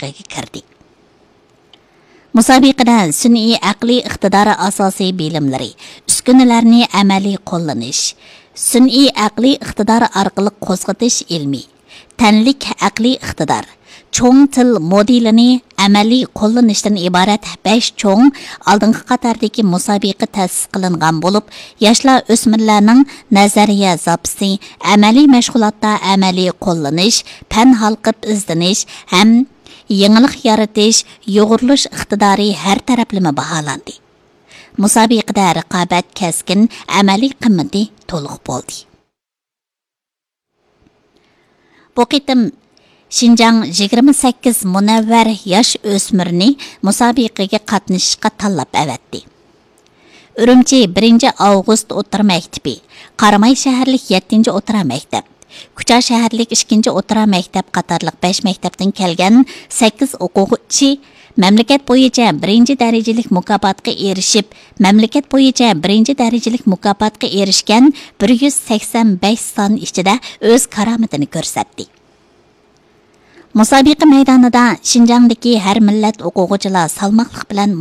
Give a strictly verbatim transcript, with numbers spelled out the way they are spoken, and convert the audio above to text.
مۇسابىقىگە كىردى. مۇسابىقىدە سۈنئىي ئەقلىي ئىقتىدار ئاساسىي بىلىملىرى، ئۈسكۈنىلەرنى ئەمەلىي قوللىنىش، سۈنئىي ئەقلىي ئىقتىدار ئارقىلىق قوزغىتىش ئىلمى، تەنلىك ئەقلىي ئىقتىدار، چوڭ تىل مودېلىنى ئەمەلىي قوللىنىشتىن ئىبارەت بەش چوڭ ئالدىنقى قاتاردىكى مۇسابىقە تەسىس قىلىنغان بولۇپ، ياشلار، ئۆسمۈرلەرنىڭ نەزەرىيە زاپىسى، ئەمەلىي مەشغۇلاتتا ئەمەلىي قوللىنىش، پەن ھالقىپ ئىزدىنىش ھەم يېڭىلىق يارىتىش، يۇغۇرۇلۇش ئىقتىدارى ھەر تەرەپلىمە باھالاندى. مۇسابىقىدە رىقابەت كەسكىن، ئەمەلىي قىممىتى تولۇق بولدى. بۇ قېتىم شىنجاڭ يىگىرمە سەككىز مۇنەۋۋەر ياش ئۆسمۈرنى مۇسابىقىگە قاتنىشىشقا تاللاپ ئەۋەتتى. ئۈرۈمچى بىرىنچى ئاۋغۇست ئوتتۇرا مەكتىپى، قاراماي شەھەرلىك يەتتىنچى ئوتتۇرا مەكتەپ، كۇچا شەھەرلىك ئىككىنچى ئوتتۇرا مەكتەپ قاتارلىق بەش مەكتەپتىن كەلگەن سەككىز ئوقۇغۇچى مەملىكەت بويىچە بىرىنچى دەرىجىلىك مۇكاپاتقا ئېرىشىپ، مەملىكەت بويىچە بىرىنچى دەرىجىلىك مۇكاپاتقا ئېرىشكەن بىر يۈز سەكسەن بەش سان ئىچىدە ئۆز كارامىتىنى كۆرسەتتى. مۇسابىقە مەيدانىدا شىنجاڭدىكى ھەر مىللەت ئوقۇغۇچىلار سالماقلىق بىلەن